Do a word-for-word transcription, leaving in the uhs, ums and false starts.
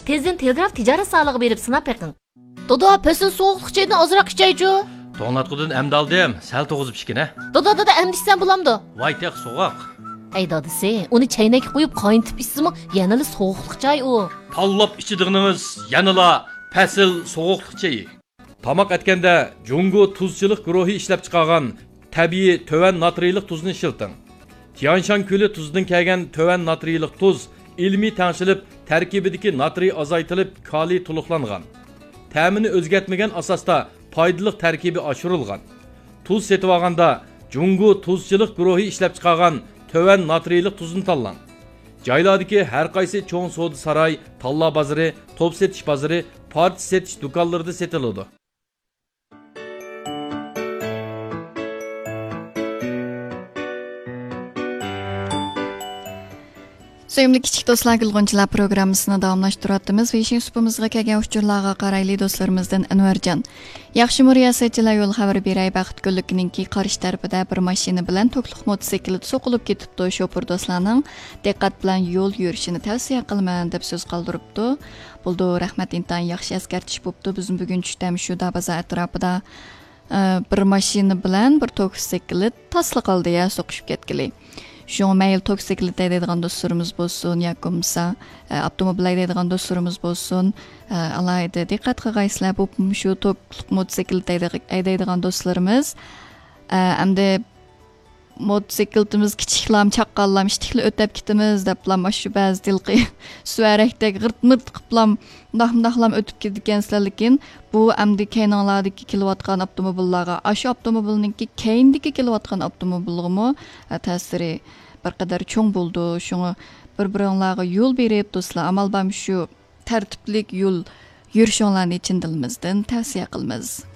تېزدىن تېلېگراف تىجارەت زالىغا بېرىپ سىناپ بېقىڭ. دادا، پەسىل سوغۇقلۇق چايدىن ئازراق ئىچەيچۇ. توڭلاتقۇدىن ئەمدى ئالدىم، سەل توغۇزۇپ ئىچكىنە. دادا، دادا، ئەمدى ئىچسەم بولامدۇ؟ ۋاي تېخى سوغۇق. ئەي دادىسى، ئۇنى چەينەككە قويۇپ قاينىتىپ ئىچسىمۇ يەنىلا سوغۇقلۇق چاي ئۇ. تاللاپ ئىچىدىغىنىڭىز يەنىلا پەسىل سوغۇقلۇق چېيى. تاماق ئەتكەندە جۇڭگو تۇزچىلىق گۇرۇھى ئىشلەپچىقارغان تەبىئىي تۆۋەن ناترىيلىق تۇزنى ئىشلىتىڭ. تيانشان كۆلى تۇزىدىن كەلگەن تۆۋەن ناترىيلىق تۇز ئىلمىي تەڭشىلىپ، تەركىبىدىكى ناترىي ئازايتىلىپ، كالىي تولۇقلانغان. تەمىنى ئۆزگەرتمىگەن ئاساستا پايدىلىق تەركىبى ئاشۇرۇلغان. تۇز سېتىۋالغاندا جۇڭگو تۇزچىلىق گۇرۇھى ئىشلەپچىقارغان تۆۋەن ناترىيلىق تۇزنى تاللاڭ. جايلاردىكى ھەر قايسى چوڭ سودا ساراي، تاللا بازىرى، توپ سېتىش بازىرى، پارچە سېتىش دۇكانلىرىدا سېتىلىدۇ. سۆيۈملۈك كىچىك دوستلار، گۈلغۇنچىلار پروگراممىسىنى داۋاملاشتۇرۇۋاتىمىز. ۋېيشىن سۇپىمىزغا كەلگەن ئۇچۇرلارغا قارايلى دوستلىرىمىزدىن ئەنۋەرجان. ياخشىمۇ رىياسەتچىلەر يول خەۋىرى بېرەي، بەخت گۈللۈكىنىڭكى قارشى تەرىپىدە بىر ماشىنا بىلەن توكلۇق موتوسىكلىت سوقۇلۇپ كېتىپتۇ. شوپۇر دوستلارنىڭ دىققەت بىلەن يول يۈرۈشىنى تەۋسىيە قىلىمەن، دەپ سۆز قالدۇرۇپتۇ. بولىدۇ، رەھمەت، ئىنتايىن ياخشى ئەسكەرتىش بوپتۇ. بىزمۇ بۈگۈن چۈشتە مۇشۇ دابازا ئەتراپىدا، ئە، بىر ماشىنا بىلەن بىر توكسىكلىت تاسلا قالدى يا، سوقۇشۇپ كەتكىلى. شۇڭا مەيلى توكسىكلىت ھەيدەيدىغان دوستلىرىمىز بولسۇن ياكى بولمىسا، ئە، ئاپتوموبىل ھەيدەيدىغان دوستلىرىمىز بولسۇن، ئە، ئالاھىدە دىققەت قىلغايسىلەر. بۇ مۇشۇ توكلۇق موتوسىكلىت ھەيدەيدىغان دوستلىرىمىز، ئە، ئەمدى موتوسىكلىتىمىز كىچىكلام، چاققانلام، ئىتتىكلا ئۆتەپ كېتىمىز دەپلام، مانا شۇ بەزى ھېلىقى سۈۋەرەكتەك غىرت-مىرت قىپلام، مۇنداق مۇنداقلام ئۆتۈپ كېتىدىكەنسىلەر. لېكىن بۇ ئەمدى كەينىڭلاردىكى كېلىۋاتقان ئاپتوموبىللارغا، ئاشۇ ئاپتوموبىلنىڭكى كەينىدىكى كېلىۋاتقان ئاپتوموبىلغىمۇ، ئە، تەسىرى بىر قەدەر چوڭ بولىدۇ. شۇڭا بىر-بىرىڭلارغا يول بېرىپ، دوستلار، ئامال بار مۇشۇ تەرتىپلىك يول يۈرۈشۈڭلارنى چىن دىلىمىزدىن تەۋسىيە قىلىمىز.